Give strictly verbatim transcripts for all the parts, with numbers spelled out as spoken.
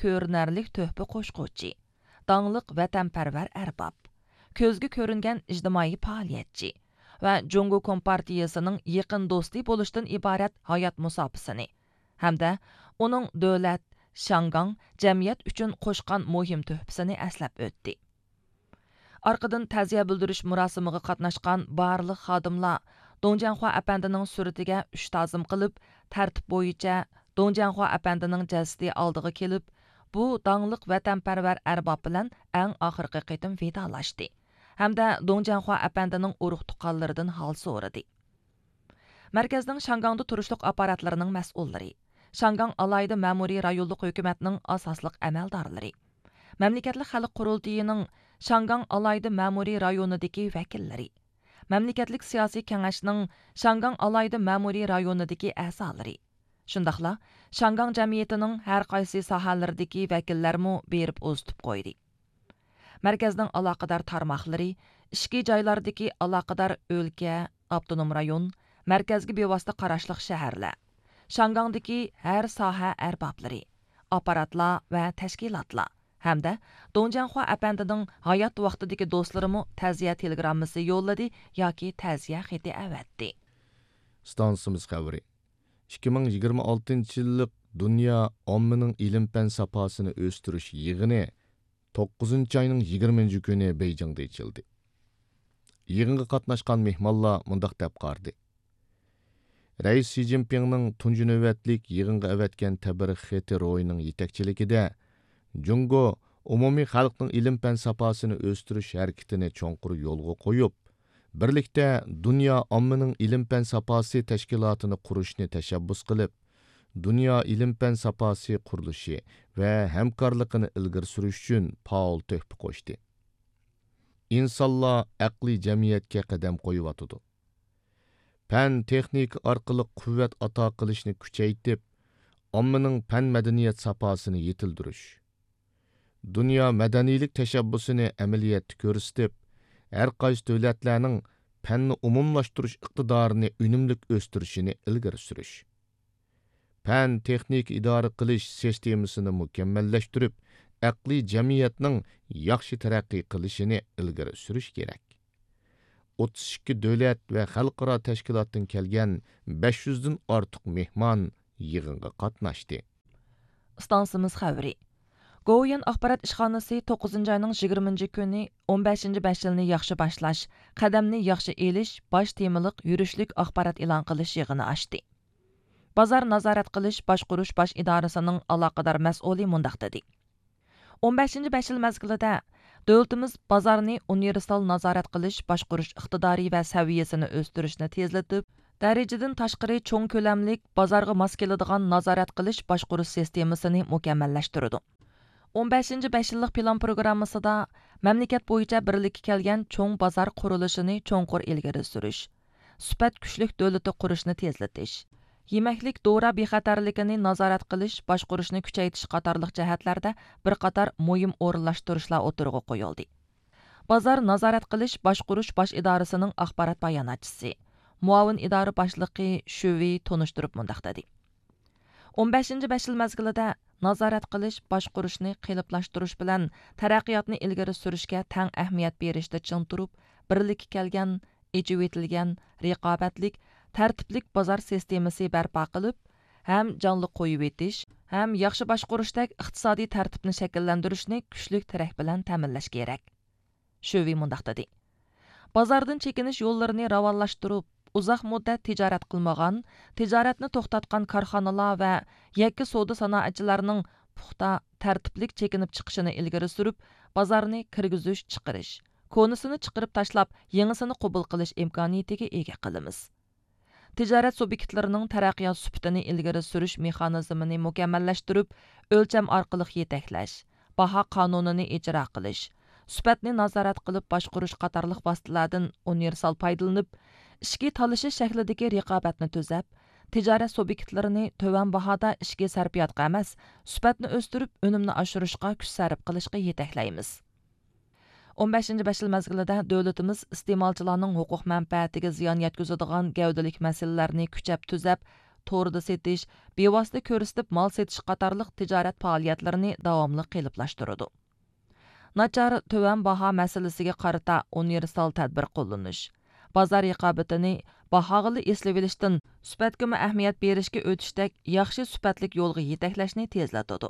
كۆرۈنەرلىك تۆھپە قوشقۇچى، داڭلىق ۋەتەنپەرۋەر ئەرباب، كۆزگە كۆرۈنگەن ئىجتىمائىي پائالىيەتچى ۋە جۇڭگو كومپارتىيىسىنىڭ يېقىن دوستى بولۇشتىن ئىبارەت ھايات مۇساپىسىنى ھەمدە ئۇنىڭ دۆلەت، شياڭگاڭ جەمئىيەت ئۈچۈن قوشقان مۇھىم تۆھپىسىنى ئەسلەپ ئۆتتى. ئارقىدىن تەزىيە بىلدۈرۈش مۇراسىمىغا قاتناشقان بارلىق خادىملار دۇڭجيەنخۇا ئەپەندىنىڭ سۈرىتىگە ئۈچ تازىم قىلىپ، تەرتىپ بويىچە دۇڭجيەنخۇا ئەپەندىنىڭ جەسىتى ئالدىغا كېلىپ، بۇ داڭلىق ۋەتەنپەرۋەر ئەرباب بىلەن ئەڭ ئاخىرقى قېتىم ۋىدالاشتى ھەمدە دۇڭجيەنخۇا ئەپەندىنىڭ ئۇرۇق-تۇغقانلىرىدىن ھال سورىدى. مەركەزنىڭ شياڭگاڭدا تۇرۇشلۇق ئاپپاراتلىرىنىڭ مەسئۇللىرى، شياڭگاڭ ئالاھىدە مەمۇرىي رايونلۇق ھۆكۈمەتنىڭ ئاساسلىق ئەمەلدارلىرى، مەملىكەتلىك خەلق قۇرۇلتىيىنىڭ شياڭگاڭ ئالاھىدە مەمۇرىي رايونىدىكى ۋەكىللىرى، مەملىكەتلىك سىياسىي كېڭەشنىڭ شياڭگاڭ ئالاھىدە مەمۇرىي رايونىدىكى ئەزالىرى، شۇنداقلا شياڭگاڭ جەمئىيىتىنىڭ ھەر قايسى ساھەلىرىدىكى ۋەكىللەرمۇ بېرىپ ئۇزىتىپ قويدى. مەركەزنىڭ ئالاقىدار تارماقلىرى، ئىچكى جايلاردىكى ئالاقىدار ئۆلكە، ئاپتونوم رايون، مەركەزگە بىۋاسىتە قاراشلىق شەھەرلەر، شياڭگاڭدىكى ھەر ساھە ئەربابلىرى، ئاپپاراتلار ۋە تەشكىلاتلار ھەمدە دۇڭجيەنخۇا ئەپەندىنىڭ ھايات ۋاقتىدىكى دوستلىرىمۇ تەزىيە تېلېگراممىسى يوللىدى ياكى تەزىيە خېتى ئەۋەتتى. ئىستانسىمىز خەۋىرى. ئىككى مىڭ يىگىرمە ئالتىنچى يىللىق دۇنيا ئاممىنىڭ ئىلىم-پەن ساپاسىنى ئۆستۈرۈش يىغىنى توققۇزىنچى ئاينىڭ يىگىرمىنچى كۈنى بېيجىڭدا ئېچىلدى. يىغىنغا قاتناشقان مېھمانلار مۇنداق دەپ قارىدى: رەئىس شى جىنپىڭنىڭ تۇنجى نۆۋەتلىك يىغىنغا ئەۋەتكەن تەبرىك خېتى روھىنىڭ يېتەكچىلىكىدە، جۇڭگو ئومۇمىي خەلقنىڭ ئىلىم-پەن ساپاسىنى ئۆستۈرۈش ھەرىكىتىنى چوڭقۇر يولغا قويۇپ، بىرلىكتە دۇنيا ئاممىنىڭ ئىلىم-پەن ساپاسى تەشكىلاتىنى قۇرۇشنى تەشەببۇس قىلىپ، دۇنيا ئىلىم-پەن ساپاسى قۇرۇلۇشى ۋە ھەمكارلىقىنى ئىلگىرى سۈرۈش ئۈچۈن پائال تۆھپە قوشتى. ئىنسانلار ئەقلىي جەمئىيەتكە قەدەم قويۇۋاتىدۇ. پەن، تېخنىكا ئارقىلىق قۇۋۋەت ئاتا قىلىشنى كۈچەيتىپ، ئاممىنىڭ پەن-مەدەنىيەت ساپاسىنى يېتىلدۈرۈش، دۇنيا مەدەنىيلىك تەشەببۇسىنى ئەمەلىيەتتە كۆرسىتىپ، ھەر قايسى دۆلەتلەرنىڭ پەننى ئومۇملاشتۇرۇش ئىقتىدارىنى ئۈنۈملۈك ئۆستۈرۈشىنى ئىلگىرى سۈرۈش، پەن، تېخنىكا ئىدارە قىلىش سىستېمىسىنى مۇكەممەللەشتۈرۈپ، ئەقلىي جەمئىيەتنىڭ ياخشى تەرەققىي قىلىشىنى ئىلگىرى سۈرۈش كېرەك. ئوتتۇز ئىككى دۆلەت ۋە خەلقئارا تەشكىلاتتىن كەلگەن بەش يۈزدىن ئارتۇق مېھمان يىغىنغا قاتناشتى. ئىستانسىمىز خەۋىرى. گوۋۇيۈەن ئاخبارات ئىشخانىسى توققۇزىنچى ئاينىڭ يىگىرمىنچى كۈنى ئون بەشىنچى بەش يىلنى ياخشى باشلاش، قەدەمنى ياخشى ئېلىش باش تېمىلىق يۈرۈشلۈك ئاخبارات ئېلان قىلىش يىغىنى ئاچتى. بازار نازارەت قىلىش باشقۇرۇش باش ئىدارىسىنىڭ ئالاقىدار مەسئۇلى مۇنداق دېدى: ئون بەشىنچى بەش يىل مەزگىلىدە دۆلىتىمىز بازارنى ئۇنىۋېرسال نازارەت قىلىش باشقۇرۇش ئىقتىدارى ۋە سەۋىيەسىنى ئۆستۈرۈشنى تېزلىتىپ، دەرىجىدىن تاشقىرى چوڭ كۆلەملىك بازارغا ماس كېلىدىغان نازارەت قىلىش باشقۇرۇش سىستېمىسىنى مۇكەممەللەشتۈرىدۇ. ئون بەشىنچى بەش يىللىق پىلان پروگراممىسىدا مەملىكەت بويىچە بىرلىككە كەلگەن چوڭ بازار قۇرۇلۇشىنى چوڭقۇر ئىلگىرى سۈرۈش، سۈپەت كۈچلۈك دۆلىتى قۇرۇشنى تېزلىتىش، يېمەكلىك دورا بىخەتەرلىكىنى نازارەت قىلىش، باشقۇرۇشنى كۈچەيتىش قاتارلىق جەھەتلەردە بىر قاتار مۇھىم ئورۇنلاشتۇرۇشلار ئوتتۇرىغا قويۇلدى. بازار نازارەت قىلىش باشقۇرۇش باش ئىدارىسىنىڭ ئاخبارات باياناتچىسى، مۇئاۋىن ئىدارە باشلىقى شۈۋېي تونۇشتۇرۇپ مۇنداق دېدى: ئون بەشىنچى بەش يىل مەزگىلىدە نازارەت قىلىش، باشقۇرۇشنى قېلىپلاشتۇرۇش بىلەن تەرەققىياتنى ئىلگىرى سۈرۈشكە تەڭ ئەھمىيەت بېرىشتە چىڭ تۇرۇپ، بىرلىككە كەلگەن، ئېچىۋېتىلگەن، رىقابەتلىك، تەرتىپلىك بازار سىستېمىسى بەرپا قىلىپ، ھەم جانلىق قويۇۋېتىش، ھەم ياخشى باشقۇرۇشتەك ئىقتىسادىي تەرتىپنى شەكىللەندۈرۈشنى كۈچلۈك تىرەك بىلەن تەمىنلەش كېرەك. شۆۋى مۇنداق دېدى: بازاردىن چېكىنىش يوللىرىنى راۋانلاشتۇرۇپ، ئۇزاق مۇددەت تىجارەت قىلمىغان، تىجارەتنى توختاتقان كارخانىلار ۋە يەككە سودا سانائەتچىلەرنىڭ پۇختا، تەرتىپلىك چېكىنىپ چىقىشىنى ئىلگىرى سۈرۈپ، بازارنى كىرگۈزۈش چىقىرىش، كونىسىنى چىقىرىپ تاشلاپ، يېڭىسىنى قوبۇل قىلىش ئىمكانىيىتىگە ئىگە قىلىمىز. تىجارەت سۇبيېكتلىرىنىڭ تەرەققىيات سۈپىتىنى ئىلگىرى سۈرۈش مېخانىزمىنى مۇكەممەللەشتۈرۈپ، ئۆلچەم ئارقىلىق يېتەكلەش، باھا قانۇنىنى ئىجرا قىلىش، سۈپەتنى نازارەت قىلىپ باشقۇرۇش قاتارلىق ۋاسىتىلەردىن ئۇنىۋېرسال پايدىلىنىپ، ئىچكى تالىشىش شەكلىدىكى رىقابەتنى تۈزەپ، تىجارەت سۇبيېكتلىرىنى تۆۋەن باھادا ئىچكى سەرپىياتقا ئەمەس، سۈپەتنى ئۆستۈرۈپ، ئۈنۈمنى ئاشۇرۇشقا كۈچ سەرپ قىلىشقا يېتەكلەيمىز. ئون بەشىنچى بەش يىل مەزگىلىدە دۆلىتىمىز ئىستېمالچىلارنىڭ ھوقۇق مەنپەئەتىگە زىيان يەتكۈزىدىغان گەۋدىلىك مەسىلىلەرنى كۈچەپ تۈزەپ، توردا سېتىش، بىۋاسىتە كۆرسىتىپ مال سېتىش قاتارلىق تىجارەت پائالىيەتلىرىنى داۋاملىق قېلىپلاشتۇرىدۇ. ناچار، تۆۋەن باھا مەسىلىسىگە قارىتا ئۇنىۋېرسال تەدبىر قوللىنىش، بازار رىقابىتىنى باھاغىلا ئېسىۋېلىشتىن سۈپەتكىمۇ ئەھمىيەت بېرىشكە ئۆتۈشتەك ياخشى سۈپەتلىك يولغا يېتەكلەشنى تېزلىتىدۇ.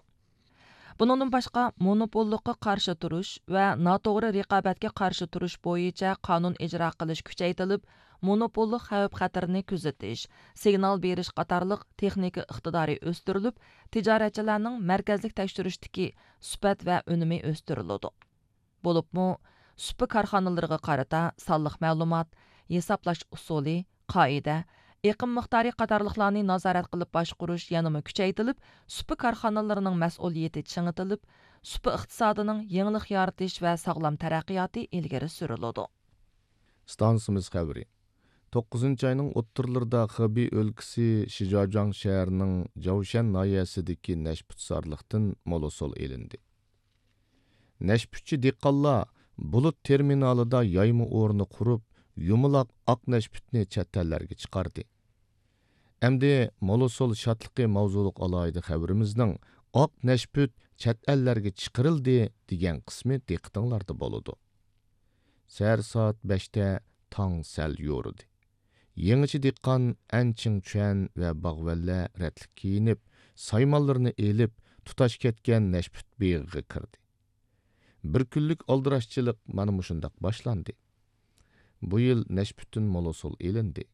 بۇنىڭدىن باشقا، مونوپوللۇققا قارشى تۇرۇش ۋە ناتوغرا رىقابەتكە قارشى تۇرۇش بويىچە قانۇن ئىجرا قىلىش كۈچەيتىلىپ، مونوپوللۇق خەۋپ-خەتىرىنى كۆزىتىش، سىگنال بېرىش قاتارلىق تېخنىكا ئىقتىدارى ئۆستۈرۈلۈپ، تىجارەتچىلەرنىڭ مەركەزلىك تەكشۈرۈشتىكى سۈپەت ۋە ئۈنۈمى ئۆستۈرۈلىدۇ. بولۇپمۇ، سۇپا كارخانىلىرىغا قارىتا سانلىق مەلۇمات، ھېسابلاش ئۇسۇلى، قائىدە، ئېقىم مىقدارى قاتارلىقلارنى نازارەت قىلىپ باشقۇرۇش يەنىمۇ كۈچەيتىلىپ، سۇپا كارخانىلىرىنىڭ مەسئۇلىيىتى چىڭىتىلىپ، سۇپا ئىقتىسادىنىڭ يېڭىلىق يارىتىش ۋە ساغلام تەرەققىياتى ئىلگىرى سۈرۈلىدۇ. ئىستانسىمىز خەۋىرى. توققۇزىنچى ئاينىڭ ئوتتۇرىلىرىدا خېبېي ئۆلكىسى شىجاجاڭ شەھىرىنىڭ جاۋشەن ناھىيەسىدىكى نەشپۈتزارلىقتىن مول ھوسۇل ئېلىندى. نەشپۈتچى دېھقانلار بۇلۇت تېرمىنالىدا يايما ئورنى قۇرۇپ، يۇمىلاق ئاق نەشپۈتنى چەت ئەللەرگە چىقاردى. ئەمدى مول ھوسۇل شادلىقى ماۋزۇلۇق ئالاھىدە خەۋىرىمىزنىڭ «ئاق نەشپۈت چەت ئەللەرگە چىقىرىلدى» دېگەن قىسمى دىققىتىڭلاردا بولىدۇ. سەھەر سائەت بەشتە تاڭ سەل يورۇدى. يېڭىچە دېھقان ئەن چىڭچۈەن ۋە باغۋەنلەر رەتلىك كىيىنىپ، سايمانلىرىنى ئېلىپ، تۇتاش كەتكەن نەشپۈت بېغىغا كىردى. بىر كۈنلۈك ئالدىراشچىلىق مانا مۇشۇنداق باشلاندى. بۇ يىل نەشپۈتتىن مول ھوسۇل ئېلىندى.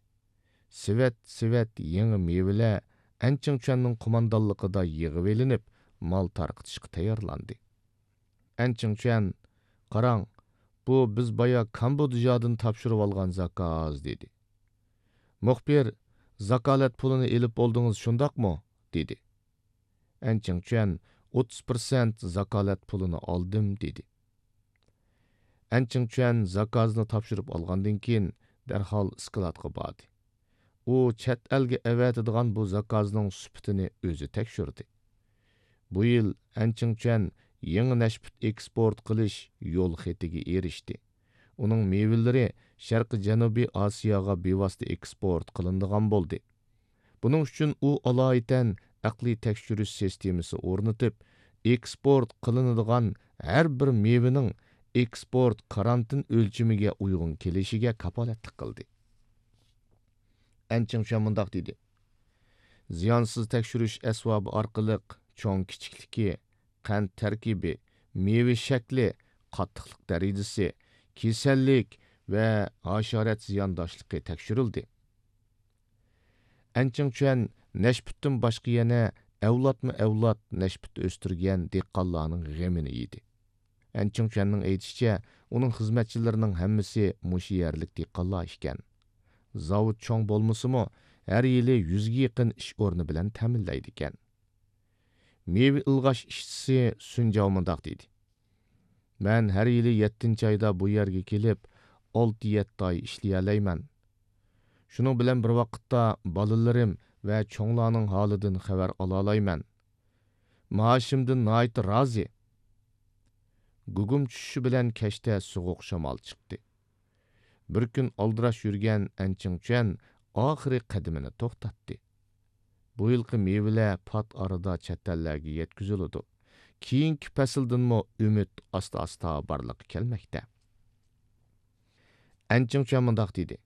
سېۋەت، سېۋەت يېڭى مېۋىلەر ئەن چىڭچۈەننىڭ قوماندانلىقىدا يىغىۋېلىنىپ، مال تارقىتىشقا تەييارلاندى. ئەن چىڭچۈەن، «قاراڭ، بۇ بىز بايا كامبودژادىن تاپشۇرۇۋالغان زاكاز» دېدى. مۇخبىر، «زاكالەت پۇلىنى ئېلىپ بولدىڭىز، شۇنداقمۇ؟» دېدى. ئەن چىڭچۈەن، «ئوتتۇز پىرسەنت زاكالەت پۇلىنى ئالدىم» دېدى. ئەن چىڭچۈەن زاكازنى تاپشۇرۇپ ئالغاندىن كېيىن، دەرھال ئىسكىلاتقا باردى. ئۇ چەت ئەلگە ئەۋەتىدىغان بۇ زاكازنىڭ سۈپىتىنى ئۆزى تەكشۈردى. بۇ يىل ئەن چىڭچۈەن يېڭى نەشپۈت ئېكسپورت قىلىش يول خېتىگە ئېرىشتى. ئۇنىڭ مېۋىلىرى شەرقىي جەنۇبىي ئاسىياغا بىۋاسىتە ئېكسپورت قىلىنىدىغان بولدى. بۇنىڭ ئۈچۈن ئۇ ئالايىتەن ئەقلىي تەكشۈرۈش سىستېمىسى ئورنىتىپ، ئېكسپورت قىلىنىدىغان ھەر بىر مېۋىنىڭ ئېكسپورت كارانتىن ئۆلچىمىگە ئۇيغۇن كېلىشىگە كاپالەتلىك قىلدى. ئەن چىڭچۈەن مۇنداق دېدى: «زىيانسىز تەكشۈرۈش ئەسۋابى ئارقىلىق چوڭ كىچىكلىكى، قەنت تەركىبى، مېۋە شەكلى، قاتتىقلىق دەرىجىسى، كېسەللىك ۋە ھاشارات زىيانداشلىقى تەكشۈرۈلدى.» ئەن چىڭچۈەن نەشپۈتتىن باشقا يەنە ئەۋلادمۇ ئەۋلاد نەشپۈت ئۆستۈرگەن دېھقانلارنىڭ غېمىنى يېدى. ئەن چىڭچۈەننىڭ ئېيتىشىچە، ئۇنىڭ خىزمەتچىلىرىنىڭ ھەممىسى مۇشۇ يەرلىك دېھقانلار ئىكەن. زاۋۇت چوڭ بولمىسىمۇ، ھەر يىلى يۈزگە يېقىن ئىش ئورنى بىلەن تەمىنلەيدىكەن. مېۋە ئىلغاش ئىشچىسى سۈن جاۋ مۇنداق دېدى: «مەن ھەر يىلى يەتتىنچى ئايدا بۇ يەرگە كېلىپ، ئالتە يەتتە ئاي ئىشلىيەلەيمەن. شۇنىڭ بىلەن بىر ۋاقىتتا بالىلىرىم ۋە چوڭلارنىڭ ھالىدىن خەۋەر ئالالايمەن. مائاشىمدىن ناھايىتى رازى.» گۇگۇم چۈشۈشى بىلەن كەچتە سوغۇق شامال چىقتى. بىر كۈن ئالدىراش يۈرگەن ئەن چىڭچۈەن ئاخىرى قەدىمىنى توختاتتى. بۇ يىلقى مېۋىلەر پات ئارىدا چەت ئەللەرگە يەتكۈزۈلىدۇ. كېيىنكى پەسىلدىنمۇ ئۈمىد ئاستا-ئاستا بارلىققا كەلمەكتە. ئەن چىڭچۈەن مۇنداق دېدى: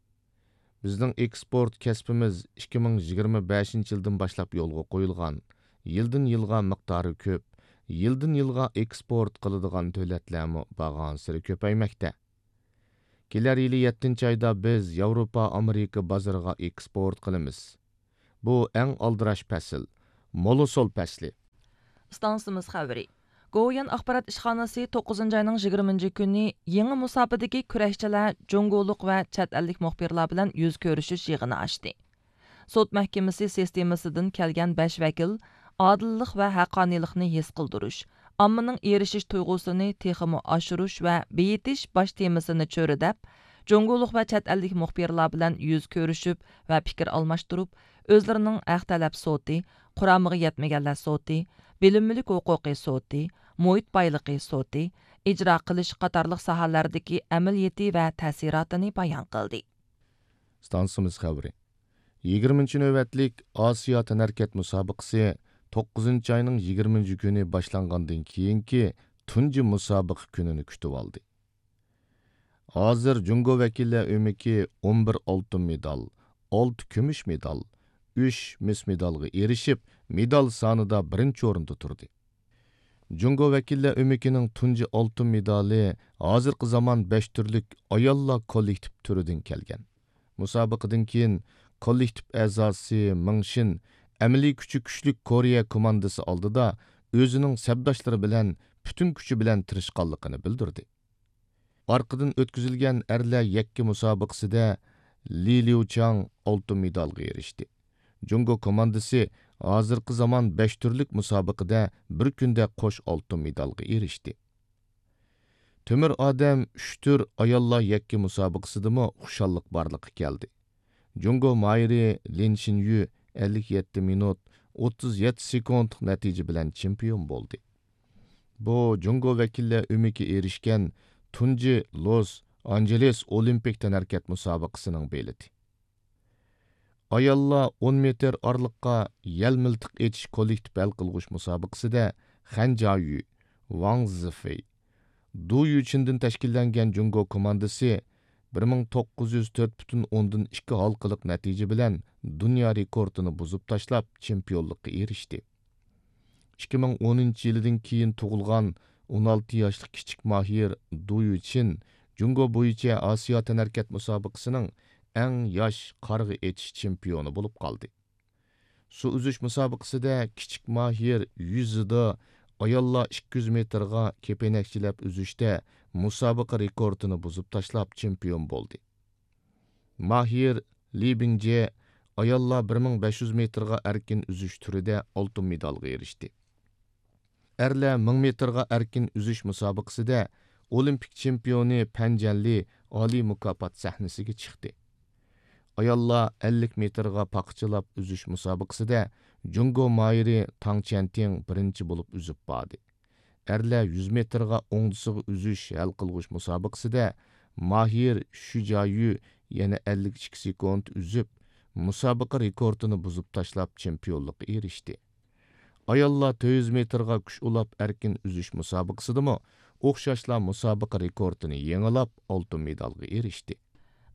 «بىزنىڭ ئېكسپورت كەسپىمىز ئىككى مىڭ يىگىرمە بەشىنچى يىلدىن باشلاپ يولغا قويۇلغان. يىلدىن يىلغا مىقدارى كۆپ، يىلدىن يىلغا ئېكسپورت قىلىدىغان دۆلەتلەرمۇ بارغانسېرى كۆپەيمەكتە. كېلەر يىلى يەتتىنچى ئايدا بىز ياۋروپا، ئامېرىكا بازىرىغا ئېكسپورت قىلىمىز. بۇ ئەڭ ئالدىراش پەسىل، مول ھوسۇل پەسلى.» ئىستانسىمىز خەۋىرى. گوۋۇيۈەن ئاخبارات ئىشخانىسى توققۇزىنچى ئاينىڭ يىگىرمىنچى كۈنى يېڭى مۇساپىدىكى كۈرەشچىلەر جۇڭگولۇق ۋە چەت ئەللىك مۇخبىرلار بىلەن يۈز كۆرۈشۈش يىغىنى ئاچتى. سوت مەھكىمىسى سىستېمىسىدىن كەلگەن بەش ۋەكىل ئادىللىق ۋە ھەققانىيلىقنى ھېس قىلدۇرۇش، ئاممىنىڭ ئېرىشىش تۇيغۇسىنى تېخىمۇ ئاشۇرۇش ۋە بېيىتىش باش تېمىسىنى چۆرىدەپ، جۇڭگولۇق ۋە چەت ئەللىك مۇخبىرلار بىلەن يۈز كۆرۈشۈپ ۋە پىكىر ئالماشتۇرۇپ، ئۆزلىرىنىڭ ھەق تەلەپ سوتى، قۇرامىغا يەتمىگەنلەر سوتى، بىلىم مۈلۈك ھوقۇقى سوتى، مۇھىت بايلىقى سوتى، ئىجرا قىلىش قاتارلىق ساھەلەردىكى ئەمەلىيىتى ۋە تەسىراتىنى بايان قىلدى. ئىستانسىمىز خەۋىرى. يىگىرمىنچى نۆۋەتلىك ئاسىيا تەنھەرىكەت مۇسابىقىسى توققۇزىنچى ئاينىڭ يىگىرمىنچى كۈنى باشلانغاندىن كېيىنكى تۇنجى مۇسابىقە كۈنىنى كۈتۈۋالدى. ھازىر جۇڭگو ۋەكىللەر ئۆمىكى ئون بىر ئالتۇن مېدال، ئالتە كۈمۈش مېدال، ئۈچ مىس مېدالغا ئېرىشىپ، مېدال سانىدا بىرىنچى ئورۇندا تۇردى. جۇڭگو ۋەكىللەر ئۆمىكىنىڭ تۇنجى ئالتۇن مېدالى ھازىرقى زامان بەش تۈرلۈك ئاياللار كوللېكتىپ تۈرىدىن كەلگەن. مۇسابىقىدىن كېيىن كوللېكتىپ ئەزاسى مېڭ شىن ئەمەلىي كۈچى كۈچلۈك كورېيە كوماندىسى ئالدىدا ئۆزىنىڭ سەپداشلىرى بىلەن پۈتۈن كۈچى بىلەن تىرىشقانلىقىنى بىلدۈردى. ئارقىدىن ئۆتكۈزۈلگەن ئەرلەر يەككە مۇسابىقىسىدە لى ليۇچاڭ ئالتۇن مېدالغا ئېرىشتى. جۇڭگو كوماندىسى ھازىرقى زامان بەش تۈرلۈك مۇسابىقىدە بىر كۈندە قوش ئالتۇن مېدالغا ئېرىشتى. تۆمۈر ئادەم ئۈچ تۈر ئاياللار يەككە مۇسابىقىسىدىمۇ خۇشاللىق بارلىققا كەلدى. جۇڭگو ماھىرى لىن شىنيۈ ئەللىك يەتتە مىنۇت، ئوتتۇز يەتتە سېكۇنتلۇق نەتىجە بىلەن چېمپىيون بولدى. بۇ جۇڭگو ۋەكىللەر ئۆمىكى ئېرىشكەن تۇنجى لوس ئانژېلېس ئولىمپىك تەنھەرىكەت مۇسابىقىسىنىڭ بېلىتى. ئاياللار ئون مېتىر ئارىلىققا يەل مىلتىق ئېتىش كوللېكتىپ ھەل قىلغۇچ مۇسابىقىسىدە خەن جايۈ، ۋاڭ زىفېي، دۇ يۈچىندىن تەشكىللەنگەن جۇڭگو كوماندىسى بىر مىڭ توققۇز يۈز تۆت پۈتۈن ئوندىن ئىككى ھالقىلىق نەتىجە بىلەن دۇنيا رېكورتىنى بۇزۇپ تاشلاپ، چېمپىيونلۇققا ئېرىشتى. ئىككى مىڭ ئونىنچى يىلىدىن كېيىن تۇغۇلغان ئون ئالتە ياشلىق كىچىك ماھىر دۇ يۈچىن جۇڭگو بويىچە ئاسىيا تەنھەرىكەت مۇسابىقىسىنىڭ ئەڭ ياش قارغا ئېتىش چېمپىيونى بولۇپ قالدى. سۇ ئۈزۈش مۇسابىقىسىدە كىچىك ماھىر يۈزىدا ئاياللار ئىككى يۈز مېتىرغا كېپىنەكچىلەپ ئۈزۈشتە مۇسابىقە رېكورتىنى بۇزۇپ تاشلاپ چېمپىيون بولدى. ماھىر لى بىڭجې ئاياللار بىر مىڭ بەش يۈز مېتىرغا ئەركىن ئۈزۈش تۈرىدە ئالتۇن مېدالغا ئېرىشتى. ئەرلەر مىڭ مېتىرغا ئەركىن ئۈزۈش مۇسابىقىسىدە ئولىمپىك چېمپىيونى پەن جەنلى ئالىي مۇكاپات سەھنىسىگە چىقتى. ئاياللار ئەللىك مېتىرغا پاقىچىلاپ ئۈزۈش مۇسابىقىسىدە جۇڭگو ماھىرى تاڭ چيەنتىڭ بىرىنچى بولۇپ ئۈزۈپ باردى. ئەرلەر يۈز مېتىرغا ئوڭدىسىغا ئۈزۈش ھەل قىلغۇچ مۇسابىقىسىدە ماھىر شۈ جايۈ يەنە ئەللىك ئىككى سېكۇنت ئۈزۈپ، مۇسابىقە رېكورتىنى بۇزۇپ تاشلاپ، چېمپىيونلۇققا ئېرىشتى. ئاياللار تۆت يۈز مېتىرغا كۈچ ئۇلاپ ئەركىن ئۈزۈش مۇسابىقىسىدىمۇ ئوخشاشلا مۇسابىقە رېكورتىنى يېڭىلاپ، ئالتۇن مېدالغا ئېرىشتى.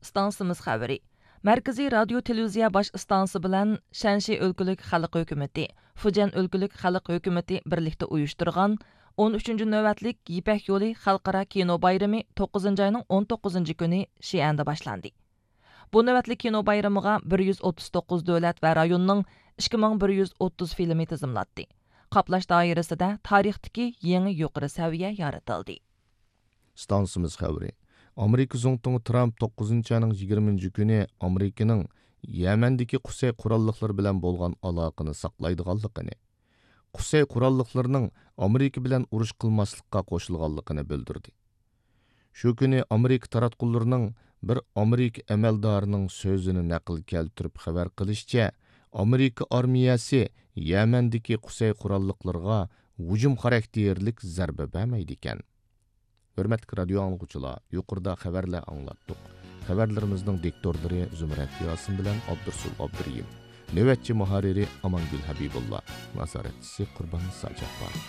ئىستانسىمىز خەۋىرى. مەركىزىي رادىيو تېلېۋىزىيە باش ئىستانسىسى بىلەن شەنشى ئۆلكىلىك خەلق ھۆكۈمىتى، فۇجيەن ئۆلكىلىك خەلق ھۆكۈمىتى بىرلىكتە ئۇيۇشتۇرغان ئون ئۈچىنچى نۆۋەتلىك يىپەك يولى خەلقئارا كىنو بايرىمى توققۇزىنچى ئاينىڭ ئون توققۇزىنچى كۈنى شىئەندە باشلاندى. بۇ نۆۋەتلىك كىنو بايرىمىغا بىر يۈز ئوتتۇز توققۇز دۆلەت ۋە رايوننىڭ ئىككى مىڭ بىر يۈز ئوتتۇز فىلىمى تىزىملاتتى. قاپلاش دائىرىسىدە تارىختىكى يېڭى يۇقىرى سەۋىيە يارىتىلدى. ئىستانسىمىز خەۋىرى. ئامېرىكا زۇڭتۇڭى ترامپ توققۇزىنچى ئاينىڭ يىگىرمىنچى كۈنى ئامېرىكىنىڭ يەمەندىكى قۇسەي قوراللىقلىرى بىلەن بولغان ئالاقىنى ساقلايدىغانلىقىنى، قۇسەي قوراللىقلىرىنىڭ ئامېرىكا بىلەن ئۇرۇش قىلماسلىققا قوشۇلغانلىقىنى بىلدۈردى. شۇ كۈنى ئامېرىكا تاراتقۇلىرىنىڭ بىر ئامېرىكا ئەمەلدارىنىڭ سۆزىنى نەقىل كەلتۈرۈپ خەۋەر قىلىشىچە، ئامېرىكا ئارمىيەسى يەمەندىكى قۇسەي قوراللىقلىرىغا ھۇجۇم خاراكتېرلىك زەربە بەرمەيدىكەن. ھۆرمەتلىك رادىيو ئاڭلىغۇچىلار، يۇقىرىدا خەۋەرلەر ئاڭلاتتۇق. خەۋەرلىرىمىزنىڭ دىكتورلىرى زۇمرەت ياسىن بىلەن ئابدۇرسۇل ئابدۇرېھىم، نۆۋەتچى مۇھەررىرى ئامانگۈل ھەبىبۇللا، نازارەتچىسى قۇرباننىسا جاپپار.